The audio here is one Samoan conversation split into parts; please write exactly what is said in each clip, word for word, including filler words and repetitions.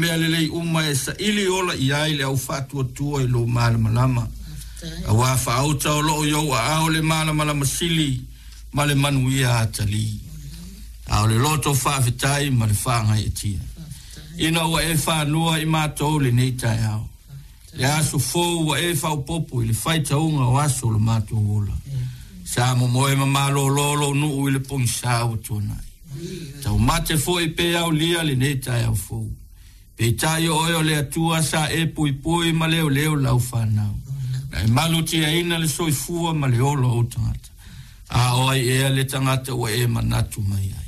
Mea lelei uma e saili ola i ai le au faatuatua i lou malamalama. Auā faauta o loo i ou aao le malamalama sili ma le manuia atalii. A o le loto faafetai ma le faagaeetia. Ina ua e fanua i matou lenei taeao. Le aso fou ua e faaopoopo i le faitauga o aso o le matou ola. Sa momoe ma malolo lou nuu i le pogisā ua tuanai. Taumate foi pe aulia lenei taeao fou. Peitai o oe o le Atua sa e puipui ma leoleo lau fanau. Na e malutiaina le soifua ma le ola o ou tagata. A o ai ea le tagata ua e manatu mai ai.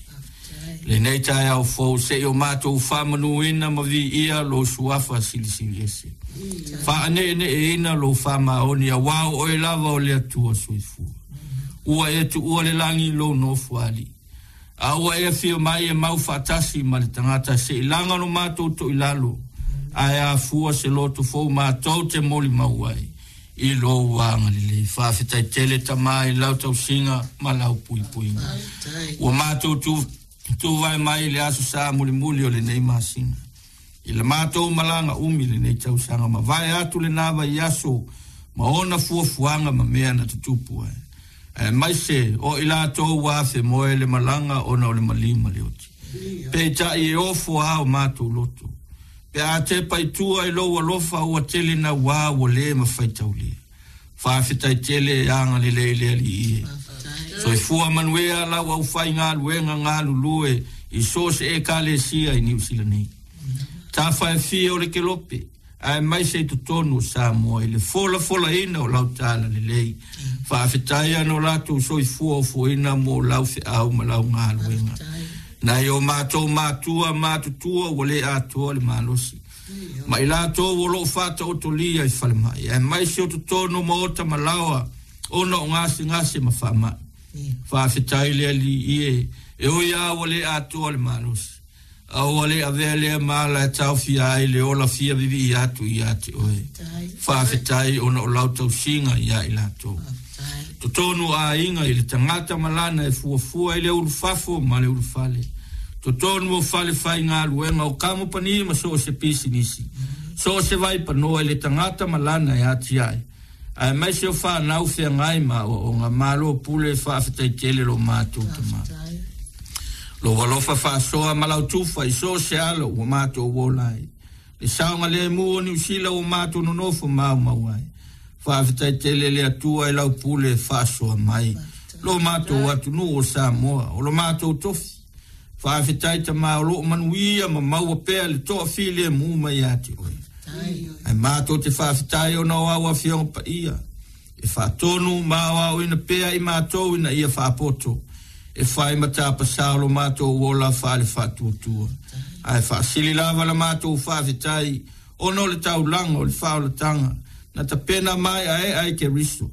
Lenei taeao fou se'i o matou faamanuina ma viia lou suafa silisili ese. Faaneeneeina lou faamaoni auā o oe lava o le Atua soifua. Ua e tuua le lagi i lou nofoalii. A ua e afio mai e mau faatasi ma le tagata se'i laga lo matou toilalo, ae afua se loto fou matou te molimau ai i lou agalelei. Faafetai tele Tama i lau tausiga ma lau puipuiga. Ua matou tu tuvae mai i le aso sa mulimuli o lenei masina. I le matou malaga umi lenei tausaga mavae atu lena vaiaso ma ona fuafuaga ma mea na tutupu ai. Aemaise o i latou ua afemoe le malaga ona o le maliu ma le oti. Peitai e ofo lava o matou loto. Pe a tepa i tua i lou alofa ua tele naua ua le mafai taulia. Faafetai tele e agalelei le Alii e. Soifua manuia lau aufaigaluega galulue i so o se ekalesia i Niu Sila nei. Tafa e fia o le kelope, aemaise i totonu o Samoa i le folafolaina o lau talalelei. Faafetai ona o latou soifua ofoina mo lau feau ma lau galuega. Nai o matou matua matutua ua le atoa le malosi. Ma i latou o loo faataotolia i falemai, aemaise o totonu o maota ma laoa ona o gasegase ma faamai. Faafetai le Alii e, e ui lava ua le atoa le malosi. A ua le avea lea ma ala e taofia ai le ola fia vivii atu ia te oe. Faafetai ona o lau tausiga ia i latou. Totonu o aiga i le tagata ma lana e fuafua i le ulufafo ma le ulufale. Totonu o fale faigaluega o kamupani ma so o se pisinisi. So o se vaipanoa i le tagata ma lana e atiae. Aemaise o fanau feagai ma aoaoga malo pule faafetai tele lo matou Tama. Lou alofa faasoa ma lau tufa i so o se alo ua matou ola ai. Le saogalemu o Niu Sila ua matou nonofo maumau ai. Faafetai tele le Atua i lau pule faasoa mai. Lo matou atunuu o Samoa, o lo matou tofi. Faafetai Tama o loo manuia ma maua pea le toafilemu mai ia te oe. Ae matou te faafetai ona o au Afioga Paia e faatonu ma aoaoina pea i matou ina ia faapoto e fai ma tapasā o lo matou ola faale-faatuatua. Ae faasili lava la matou faafetai ona o le taulaga o le faaolataga na tapena maeaea e Keriso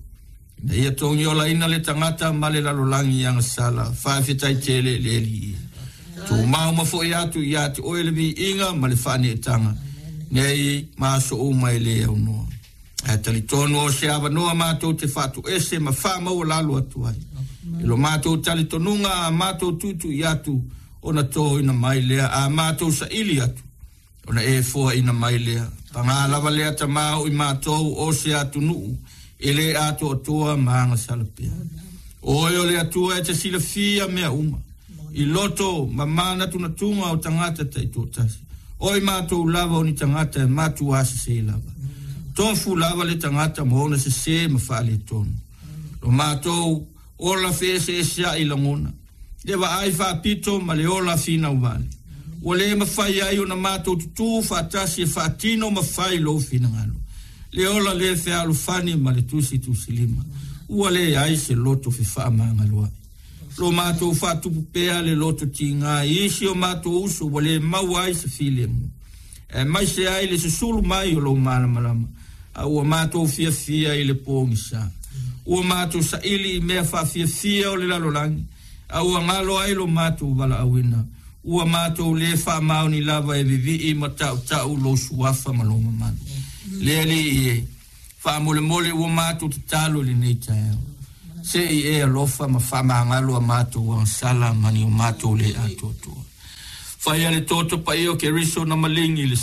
ina ia togiolaina le tagata ma le lalolagi i agasala. Faafetai tele le Alii e. Tumau ma foi atu ia te oe le viiga ma le faaneetaga nei ma aso uma e le aunoa. Ae talitonu o se avanoa matou te faatoese ma faamaualalo atu ai. I lo matou talitonuga a matou tuitui atu ona toina mai lea, a matou saili atu ona e foaina mai lea. Paga lava lea Tama o i matou o se atunuu e le atoatoa ma agasala pea. O oe o le Atua e te silafia mea uma, i loto ma manatunatuga o tagata taitoatasi. O i matou lava o ni tagata e matuā sesē lava. Tofu lava le tagata ma ona sesē ma faaletonu. Lo matou ola feeseesea'i lagona, le vaai faapito ma le ola finau vale. Ua le mafai ai ona matou tutū faatasi e faatino ma fai lou finagalo. Le ola le fealofani ma le tusitusilima. Ua leai se loto fefaamagaloa'i. Lo matou faatupu pea le loto tigā i isi o matou uso ua le maua ai se filemu, aemaise ai le susulu mai o lou malamalama, a ua matou fiafia i le pogisa. Ua matou saili i mea faafiafia o le lalolagi, a ua galo ai lo matou valaauina. Ua matou le faamaoni lava e vivii ma tautau lou suafa ma lou mamalu. Le Alii e, faamolemole ua matou tatalo i lenei taeao. Se i e alofa ma faamagalo a matou agasala ma ni o matou le atoatoa. Faia le toto paia o Keriso na maligi i le